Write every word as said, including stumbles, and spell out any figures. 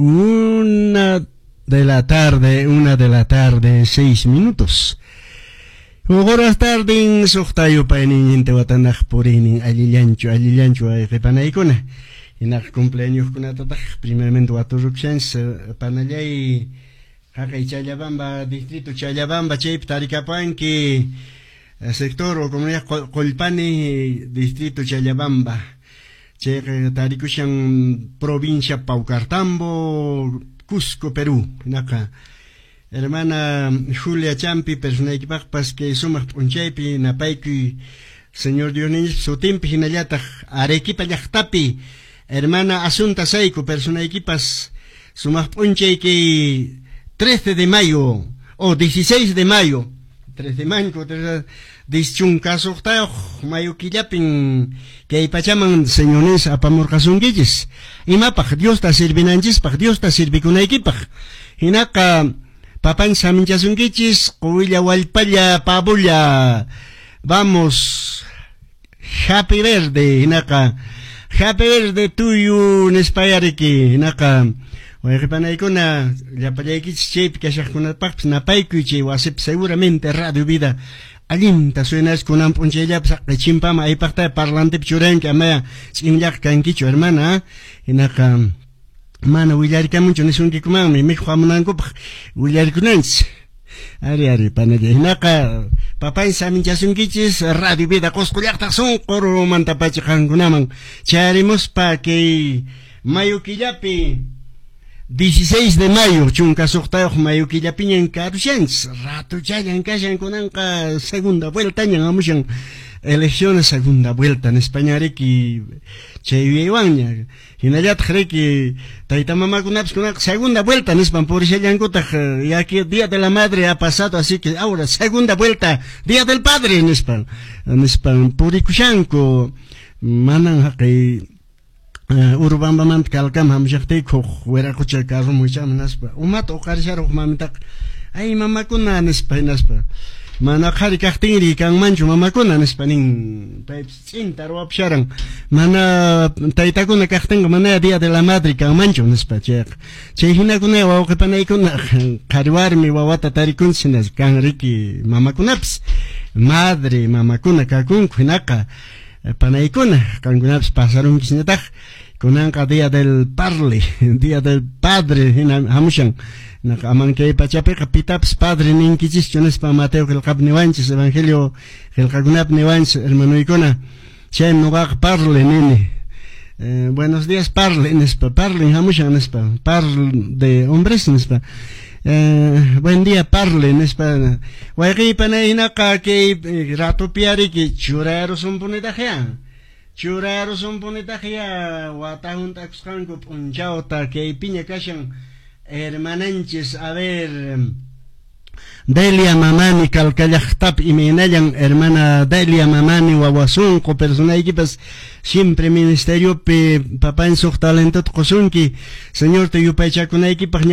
Una de la tarde, una de la tarde, seis minutos. Horas tardin suqta yupaynin intiwatanaq puriynin allillanchu, allillanchu wayqipanaykuna. Hinaq cumpleañoskunatataq primeramente waturukushanchis panallay haqay Challabamba, distrito Challabamba, chaypi tarikapuanki sector o comunidad Qollpani, distrito Challabamba. Chayqa tarikushan provincia Paucartambo, Cusco, Perú. Hinaqa hermana Julia Champi personaykipaqpas kay sumaq p'unchaypi napaykuy Señor Dios sutinpi hinallataq Arequipa llaqtapi hermana Asunta Saico personaykipas sumaq p'unchay kay trece de mayo o dieciséis de mayo trece manco chunka suqtayuq mayo killapin kay pachaman señores apamurqasunkichis imapaq Diosta sirvinanchispaq Diosta sirvikunaykipaq hinaqa papan saminchasunkichis quwilla wallpalla pabulla vamos happy birthday hinaqa happy birthday to you nispayariki hinaqa wayqipanaykuna llapallaykichis chaypi kashaqkunapaqpis napaykuy chay wasipi seguramente Radio Vida allinta suenas kunan p'unchayllapas haqay chimpama aypaqta parlantepi churanki amaya ch'inllaqa kankichu hermana hinaqa mana willarikamunchu nisunkikumanmi mikhuq hamunankupaq willarikunanchis ari ari panalla hinaqa papay saminchasunkichis Radio Vida Qusqu llaqtaq sunqurmantapacha qankunaman chayarimuspa kay mayo killapi dieciséis de mayo chunka suqtayuq mayo killapiñan karushanchis ratuchallan kashan kunanqa segunda vueltañan hamushan elecciones segunda vuelta nispaña riki chay yuyaywanña hinallataq riki tayta mamakunapas kunanqa segunda vuelta nispan purishallankutaq ya que día de la madre ha pasado, así que ahora segunda vuelta día del padre nispan nispan purikushanku manan haqay Urubambamanta Calcama hamushaqtiyku huk wiraqucha carroman wichaqman hinaspa umata uqarisharqa huk mamitaqa ay mamakuna nispa hinaspa mana qhari kaqtinri kanmanchu mamakuna nispa nin paypis ch'inta ruwapusharan mana taytakuna kaqtinqa mana día de la madre kanmanchu nispa chayqa chay hinakuna wawqi panaykuna qhari warmi wawata tarikunchis hinas kan riki mamakunapis madre mamakuna kakunku hinaqa panaykuna qankunapis pasarunkisñataq kunanqa día del parle día del padre hina hamushan hinaqa aman kay pachapiqa pitapis padre ninkichischu nispa Mateo qillqapi niwanchis evangelio qillqakunapi niwanchis hermanuykuna chaymi nuqaqa parle nini eh, buenos días parle nispa parlen hamushan nispa parle de hombres nispa Eh, buen día parle nispa wayqiypanay hinaqa kay ratupi ariki churarusunpunitaqya churarusunpunitaqya wata hunt'akusqanku p'unchawta kaypiña kashan hermananchis a ver Delia Mamani Calcallaqtapi imaynallan hermana Delia Mamani wawasunqu personaykipas siempre ministeriopi papan suq talentota qusunki Señorta yupaychakunaykipaq.